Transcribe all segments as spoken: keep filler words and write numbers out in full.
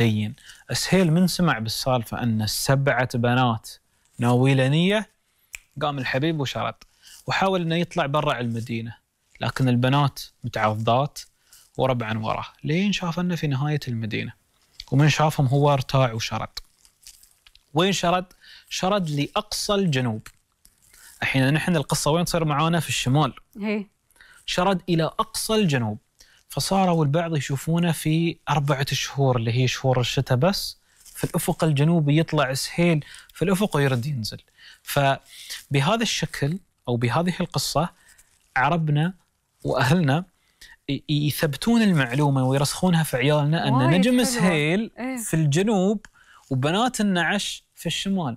لين. سهيل من سمع بالسالفة أن السبعة بنات ناويله نية، قام الحبيب وشرد وحاول أنه يطلع برا المدينة، لكن البنات متعضات وربعا وراه لين شاف أنه في نهاية المدينة، ومن شافهم هو ارتاع وشرد. وين شرد؟ شرد لأقصى الجنوب. الحين نحن القصة وين تصير معانا؟ في الشمال. هي. شرد إلى أقصى الجنوب، فصاروا البعض يشوفونه في أربعة شهور اللي هي شهور الشتاء بس في الأفق الجنوبي يطلع سهيل في الأفق ويرد ينزل. فبهذا الشكل أو بهذه القصة عربنا وأهلنا يثبتون المعلومة ويرسخونها في عيالنا أن نجم سهيل في الجنوب وبنات النعش في الشمال.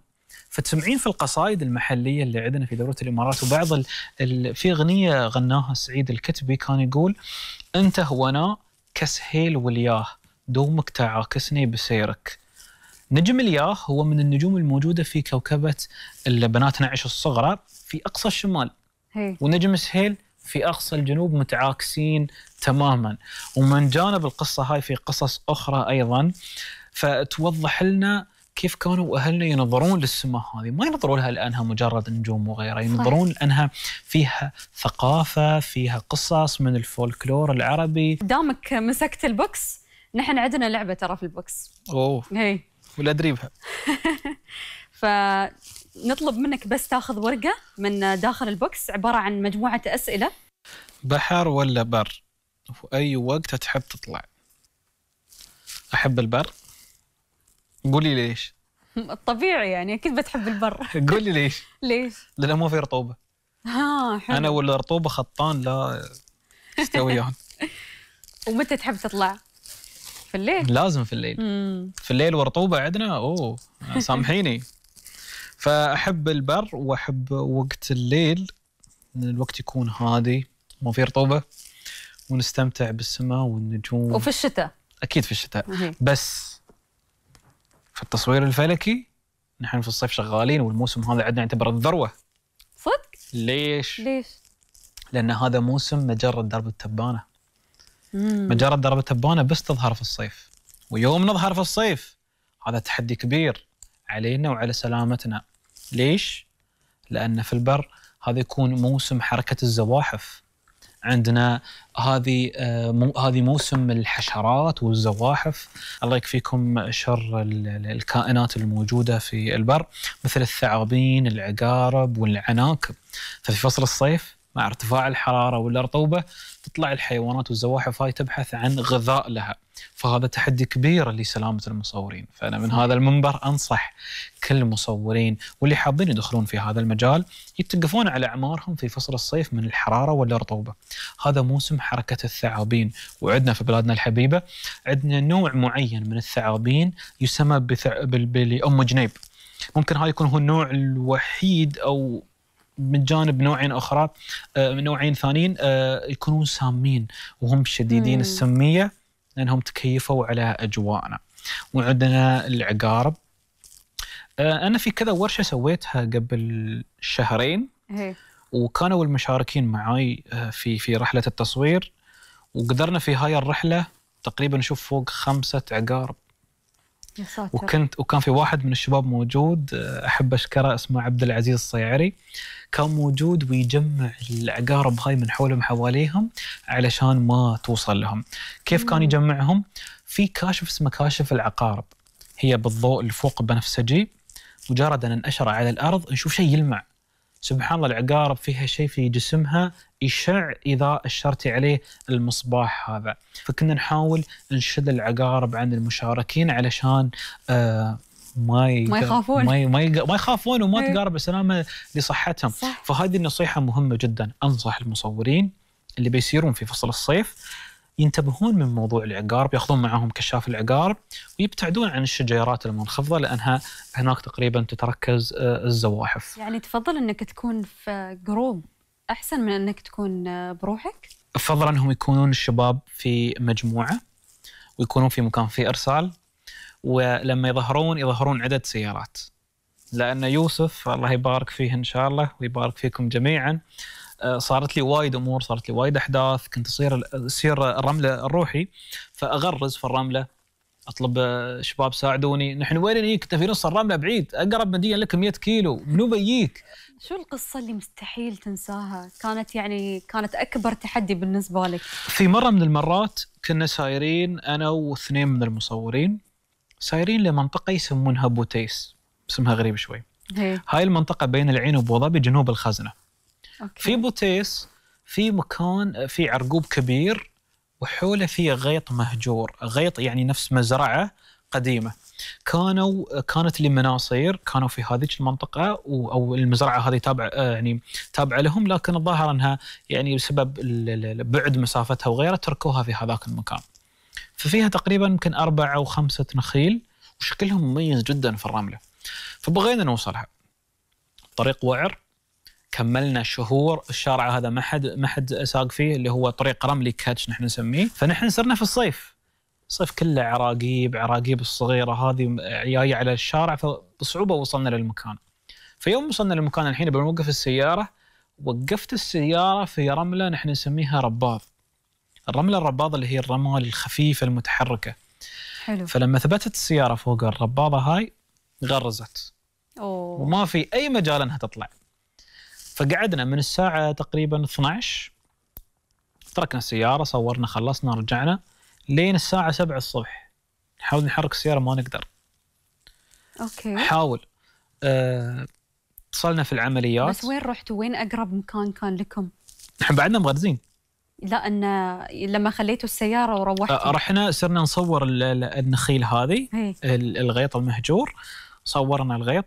فتسمعين في القصائد المحلية اللي عندنا في دولة الإمارات وبعض ال... ال... في أغنية غناها سعيد الكتبي كان يقول: أنت هونا كسهيل والياه دومك تعاكسني بسيرك. نجم الياه هو من النجوم الموجودة في كوكبة البنات نعش الصغرى في أقصى الشمال، هي. ونجم سهيل في أقصى الجنوب، متعاكسين تماما. ومن جانب القصة هاي في قصص أخرى أيضا فتوضح لنا كيف كانوا أهلنا ينظرون للسماء هذه، ما ينظرون لها لأنها مجرد نجوم وغيرها، ينظرون لأنها فيها ثقافة، فيها قصص من الفولكلور العربي. دامك مسكت البوكس، نحن عندنا لعبة ترى في البوكس. أوه. هي. ولا أدري بها. فنطلب منك بس تاخذ ورقة من داخل البوكس عبارة عن مجموعة أسئلة. بحر ولا بر؟ وفي أي وقت تحب تطلع؟ أحب البر. قولي ليش؟ الطبيعي يعني أكيد بتحب البر. قولي ليش؟ ليش؟ لأنه ما في رطوبة. ها حلو. أنا ولا رطوبة خطان لا يستويان. ومتى تحب تطلع؟ في الليل؟ لازم في الليل. مم. في الليل ورطوبة عندنا أوه سامحيني. فأحب البر وأحب وقت الليل، الوقت يكون هادي ما في رطوبة ونستمتع بالسماء والنجوم. وفي الشتاء؟ أكيد في الشتاء. مه. بس في التصوير الفلكي نحن في الصيف شغالين، والموسم هذا عندنا يعتبر الذروة. صدق؟ ليش؟ ليش؟ لأن هذا موسم مجرة درب التبانة. مم. مجرة درب التبانة بس تظهر في الصيف، ويوم نظهر في الصيف هذا تحدي كبير علينا وعلى سلامتنا. ليش؟ لأن في البر هذا يكون موسم حركة الزواحف عندنا، هذه مو هذه موسم الحشرات والزواحف. الله يكفيكم شر الكائنات الموجودة في البر مثل الثعابين، العقارب والعناكب. ففي فصل الصيف مع ارتفاع الحرارة والرطوبة تطلع الحيوانات والزواحف هاي تبحث عن غذاء لها، فهذا تحدي كبير لسلامة المصورين. فأنا من هذا المنبر أنصح كل المصورين واللي حابين يدخلون في هذا المجال يتقفون على أعمارهم في فصل الصيف من الحرارة والرطوبة. هذا موسم حركة الثعابين، وعندنا في بلادنا الحبيبة عندنا نوع معين من الثعابين يسمى بثع... بأم جنيب. ممكن هاي يكون هو النوع الوحيد أو من جانب نوعين أخرى آه نوعين ثانيين آه يكونون سامين وهم شديدين مم. السمية لأنهم تكيفوا على أجواءنا. وعندنا العقارب. آه أنا في كذا ورشة سويتها قبل شهرين هي. وكانوا المشاركين معاي آه في في رحلة التصوير، وقدرنا في هاي الرحلة تقريبا نشوف فوق خمسة عقارب. يا ساتر. وكنت وكان في واحد من الشباب موجود أحب أشكره اسمه عبد العزيز الصيعري، كان موجود ويجمع العقارب هاي من حولهم حواليهم علشان ما توصل لهم. كيف كان يجمعهم؟ في كاشف اسمه كاشف العقارب، هي بالضوء الفوق بنفسجي، مجرد أن ننشره على الأرض نشوف شيء يلمع. سبحان الله العقارب فيها شيء في جسمها يشع إذا أشرتي عليه المصباح هذا. فكنا نحاول نشد العقارب عن المشاركين علشان آه ما ي... ما يخافون ما ي... ما, ي... ما يخافون وما تقارب السلامة لصحتهم. صح. فهذه النصيحة مهمة جدا. أنصح المصورين اللي بيسيرون في فصل الصيف ينتبهون من موضوع العقارب، ياخذون معهم كشاف العقارب ويبتعدون عن الشجيرات المنخفضة لأنها هناك تقريبا تتركز الزواحف. يعني تفضل أنك تكون في جروب أحسن من أنك تكون بروحك؟ أفضل أنهم يكونون الشباب في مجموعة ويكونون في مكان فيه إرسال، ولما يظهرون يظهرون عدد سيارات، لأن يوسف الله يبارك فيه إن شاء الله ويبارك فيكم جميعا صارت لي وايد أمور، صارت لي وايد أحداث، كنت أصير أصير الرملة الروحي فأغرز في الرملة اطلب آه، شباب ساعدوني، نحن وين نجيك؟ انت في نص الرمله بعيد، اقرب مدينه لك مئة كيلو، منو بيجيك؟ شو القصة اللي مستحيل تنساها؟ كانت يعني كانت أكبر تحدي بالنسبة لك. في مره من المرات كنا سايرين انا واثنين من المصورين، سايرين لمنطقه يسمونها بوتيس، اسمها غريب شوي. هي. هاي المنطقه بين العين وابو ظبي جنوب الخزنه. أوكي. في بوتيس في مكان في عرقوب كبير وحوله فيه غيط مهجور، غيط يعني نفس مزرعة قديمة. كانوا كانت لمناصير كانوا في هذه المنطقة، أو المزرعة هذه تابعة يعني تابعة لهم، لكن الظاهر أنها يعني بسبب بعد مسافتها وغيرها تركوها في هذاك المكان. ففيها تقريبا يمكن أربعة أو خمسة نخيل وشكلهم مميز جدا في الرملة. فبغينا نوصلها، طريق وعر، كملنا شهور، الشارع هذا ما حد ما حد ساق فيه، اللي هو طريق رملي كاتش نحن نسميه. فنحن صرنا في الصيف، الصيف كله عراقيب، عراقيب الصغيرة هذه جاية على الشارع، فبصعوبة وصلنا للمكان. فيوم وصلنا للمكان الحين بنوقف السيارة، وقفت السيارة في رملة نحن نسميها رباض. الرملة الرباض اللي هي الرمال الخفيفة المتحركة. حلو. فلما ثبتت السيارة فوق الرباضة هاي غرزت. أوه. وما في أي مجال أنها تطلع. فقعدنا من الساعة تقريبا اثنتي عشرة، تركنا السيارة، صورنا، خلصنا، رجعنا لين الساعة سبعة الصبح نحاول نحرك السيارة، ما نقدر. أوكي. حاول أه... اتصلنا في العمليات. بس وين رحتوا؟ وين أقرب مكان كان لكم؟ نحن بعدنا مغرزين. لا، أن لما خليتوا السيارة وروحتوا. أه رحنا صرنا نصور النخيل هذه، هي. الغيط المهجور، صورنا الغيط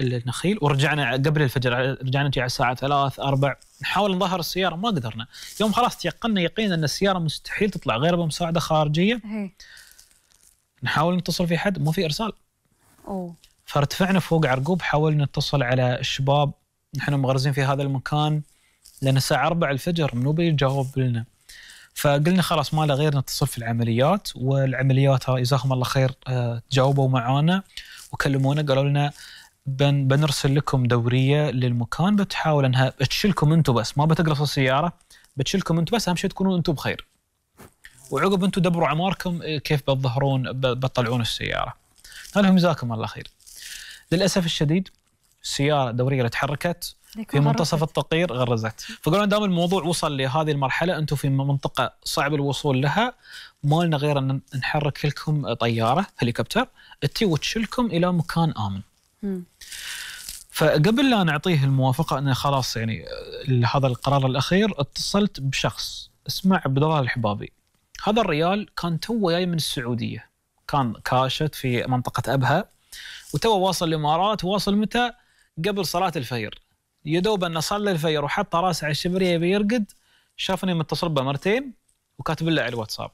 النخيل ورجعنا قبل الفجر، رجعنا نجي على الساعة ثلاث أربع، نحاول نظهر السيارة ما قدرنا. يوم خلاص تيقنا يقين أن السيارة مستحيل تطلع غير بمساعدة خارجية. هي. نحاول نتصل في حد، ما في إرسال. أوه. فارتفعنا فوق عرقوب، حاولنا نتصل على الشباب، نحن مغرزين في هذا المكان، لأن الساعة أربعة الفجر منو بيجاوب لنا. فقلنا خلاص ما له غير نتصل في العمليات، والعمليات جزاهم الله خير تجاوبوا معانا وكلمونا، قالوا لنا بن بنرسل لكم دورية للمكان بتحاول انها تشيلكم انتم بس، ما بتقرص السيارة، بتشيلكم انتم بس، اهم شيء تكونوا انتم بخير، وعقب انتم دبروا عماركم كيف بتظهرون بتطلعون السيارة. قال لهم جزاكم الله خير. للأسف الشديد السيارة الدورية اللي تحركت في منتصف التقير غرزت. فقالوا دام الموضوع وصل لهذه المرحلة، انتم في منطقة صعب الوصول لها، ما لنا غير ان نحرك لكم طيارة هليكوبتر تي وتشيلكم الى مكان آمن. مم. فقبل لا نعطيه الموافقة أن خلاص يعني هذا القرار الأخير، اتصلت بشخص اسمه عبد الله الحبابي. هذا الريال كان تو جاي من السعودية، كان كاشت في منطقة أبها، وتو واصل الإمارات. واصل متى؟ قبل صلاة الفجر، يدوب أنه صلى الفجر وحط راسه على الشبرية بيرقد، شافني متصل بمرتين وكاتب له على الواتساب.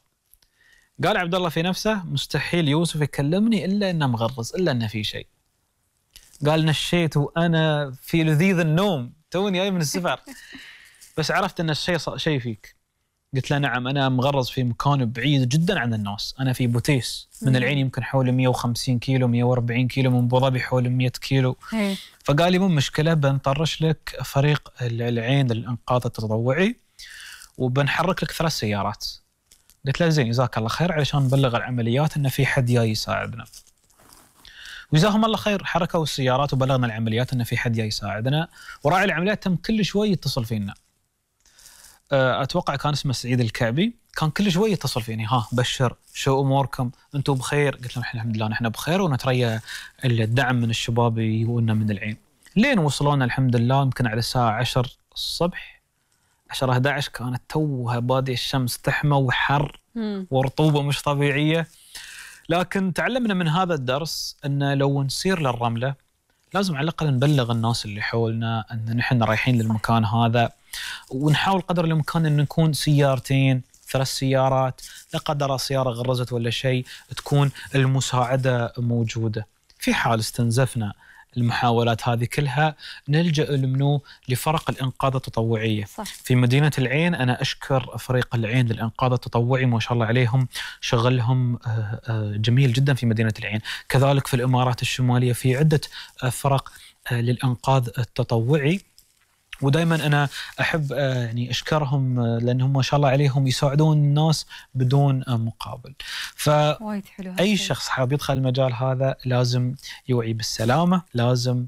قال عبد الله في نفسه مستحيل يوسف يكلمني إلا إنه مغرز، إلا إنه في شيء. قال نشيت وأنا في لذيذ النوم، توني جاي من السفر، بس عرفت أن الشيء شيء فيك. قلت له نعم، أنا مغرز في مكان بعيد جدا عن الناس، أنا في بوتيس من العين يمكن حول مئة وخمسين كيلو مئة وأربعين كيلو، من أبو ظبي حول مئة كيلو. هي. فقال لي مو مشكلة، بنطرش لك فريق العين للإنقاذ التطوعي وبنحرك لك ثلاث سيارات. قلت له زين جزاك الله خير، علشان نبلغ العمليات أن في حد جاي يساعدنا. وجزاهم الله خير، حركوا السيارات وبلغنا العمليات أن في حد جاي يساعدنا. وراعي العمليات تم كل شوي يتصل فينا، أتوقع كان اسمه سعيد الكعبي، كان كل شوي يتصل فيني، ها بشر شو أموركم أنتم بخير؟ قلت لهم الحمد لله نحن بخير، ونتريا الدعم من الشباب يجونا من العين. لين وصلونا الحمد لله يمكن على الساعة عشرة الصبح، عشرة أحد عشر، كانت توها بادية الشمس تحمى وحر ورطوبة مش طبيعية. لكن تعلمنا من هذا الدرس أن لو نسير للرملة لازم على الأقل نبلغ الناس اللي حولنا أن نحن رايحين للمكان هذا، ونحاول قدر الإمكان أن نكون سيارتين ثلاث سيارات، لا قدر سيارة غرزت ولا شيء تكون المساعدة موجودة. في حال استنزفنا المحاولات هذه كلها نلجأ لمنو لفرق الإنقاذ التطوعية. صح. في مدينة العين أنا أشكر فريق العين للإنقاذ التطوعي، ما شاء الله عليهم، شغلهم جميل جدا في مدينة العين. كذلك في الإمارات الشمالية في عدة فرق للإنقاذ التطوعي، ودائما أنا أحب يعني أشكرهم لأنهم ما شاء الله عليهم يساعدون الناس بدون مقابل. فأي شخص حاب يدخل المجال هذا لازم يوعي بالسلامة، لازم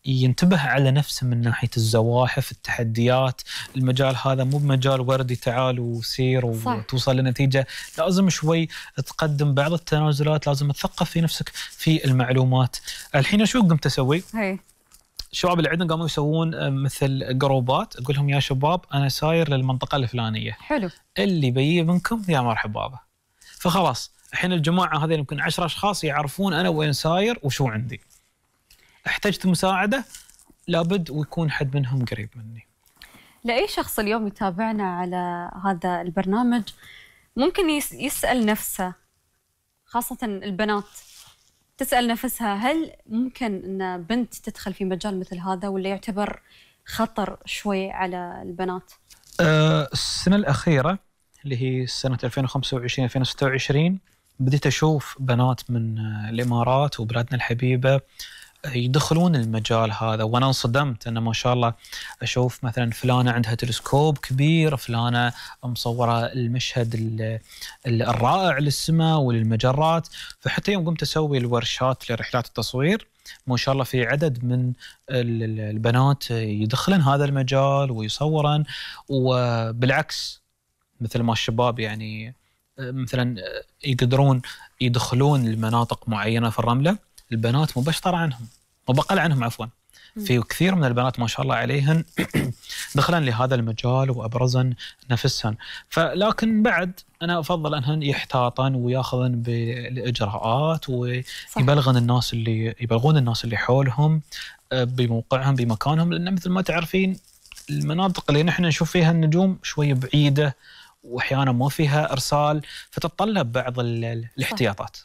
ينتبه على نفسه من ناحية الزواحف، التحديات. المجال هذا مو بمجال وردي تعال وسير وتوصل لنتيجة، لازم شوي تقدم بعض التنازلات، لازم تثقف في نفسك في المعلومات. الحين شو قمت أسوي؟ هي. الشباب اللي عندنا قاموا يسوون مثل جروبات، أقول لهم يا شباب أنا ساير للمنطقة الفلانية، حلو، اللي بيجي منكم يا مرحبا به. فخلاص الحين الجماعة هذه يمكن عشرة أشخاص يعرفون أنا وين ساير وشو عندي. احتجت مساعدة لابد ويكون حد منهم قريب مني. لأي شخص اليوم يتابعنا على هذا البرنامج ممكن يسأل نفسه، خاصة البنات تسأل نفسها هل ممكن أن بنت تدخل في مجال مثل هذا، ولا يعتبر خطر شوي على البنات؟ أه السنة الأخيرة اللي هي سنة ألفين وخمسة وعشرين ألفين وستة وعشرين بديت أشوف بنات من الإمارات وبلادنا الحبيبة يدخلون المجال هذا، وأنا انصدمت أن ما شاء الله أشوف مثلا فلانة عندها تلسكوب كبير، فلانة مصورة المشهد الرائع للسماء وللمجرات. فحتى يوم قمت أسوي الورشات لرحلات التصوير ما شاء الله في عدد من البنات يدخلن هذا المجال ويصورن، وبالعكس مثل ما الشباب يعني مثلا يقدرون يدخلون لمناطق معينة في الرملة، البنات مباشرة عنهم وبقل عنهم عفوا. في كثير من البنات ما شاء الله عليهن دخلن لهذا المجال وأبرزن نفسهن. فلكن بعد أنا أفضل أنهن يحتاطن وياخذن بالإجراءات ويبلغن الناس اللي يبلغون الناس اللي حولهم بموقعهم بمكانهم، لأن مثل ما تعرفين المناطق اللي نحن نشوف فيها النجوم شوية بعيدة وأحيانا ما فيها إرسال، فتتطلب بعض الاحتياطات.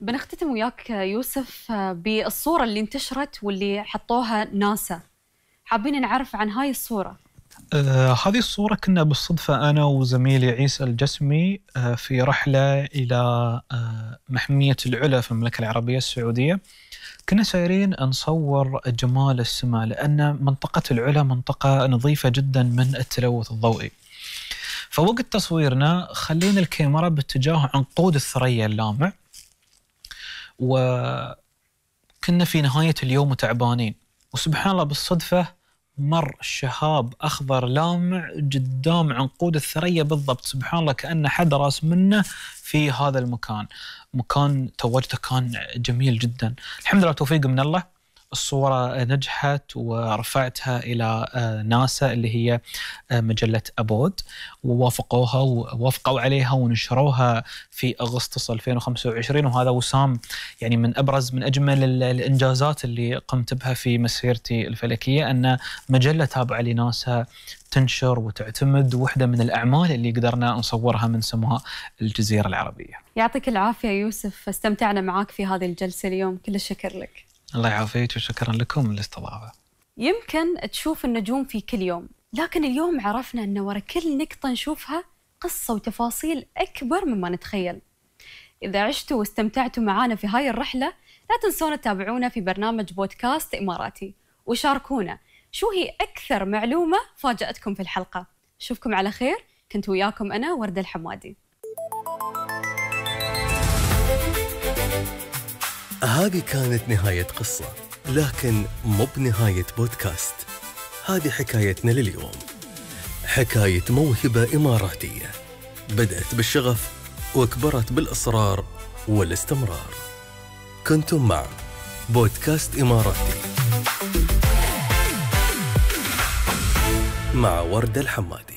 بنختتم وياك يوسف بالصورة اللي انتشرت واللي حطوها ناسا، حابين نعرف عن هاي الصورة. آه هذه الصورة كنا بالصدفة أنا وزميلي عيسى الجسمي آه في رحلة إلى آه محمية العلا في المملكة العربية السعودية. كنا سايرين نصور جمال السماء، لأن منطقة العلا منطقة نظيفة جدا من التلوث الضوئي. فوقت تصويرنا خلينا الكاميرا باتجاه عنقود الثريا اللامع، وكنا في نهاية اليوم وتعبانين، وسبحان الله بالصدفة مر شهاب أخضر لامع قدام عنقود الثريا بالضبط. سبحان الله كأن حد راس منه في هذا المكان. مكان تواجده كان جميل جدا. الحمد لله توفيق من الله الصورة نجحت ورفعتها إلى ناسا اللي هي مجلة أبود، ووافقوها ووافقوا عليها ونشروها في أغسطس ألفين وخمسة وعشرين. وهذا وسام يعني من أبرز من أجمل الإنجازات اللي قمت بها في مسيرتي الفلكية، أن مجلة تابعة لناسا تنشر وتعتمد واحدة من الأعمال اللي قدرنا نصورها من سماء الجزيرة العربية. يعطيك العافية يوسف، استمتعنا معاك في هذه الجلسة اليوم، كل الشكر لك. الله يعافيك وشكرا لكم للاستضافة. يمكن تشوف النجوم في كل يوم، لكن اليوم عرفنا أن ورا كل نقطة نشوفها قصة وتفاصيل أكبر مما نتخيل. إذا عشتوا واستمتعتوا معنا في هاي الرحلة لا تنسونا تتابعونا في برنامج بودكاست إماراتي، وشاركونا شو هي أكثر معلومة فاجأتكم في الحلقة. أشوفكم على خير، كنت وياكم أنا وردة الحمادي. هذه كانت نهاية قصة، لكن مو بنهاية بودكاست. هذه حكايتنا لليوم، حكاية موهبة إماراتية بدأت بالشغف وكبرت بالإصرار والاستمرار. كنتم مع بودكاست إماراتي مع وردة الحمادي.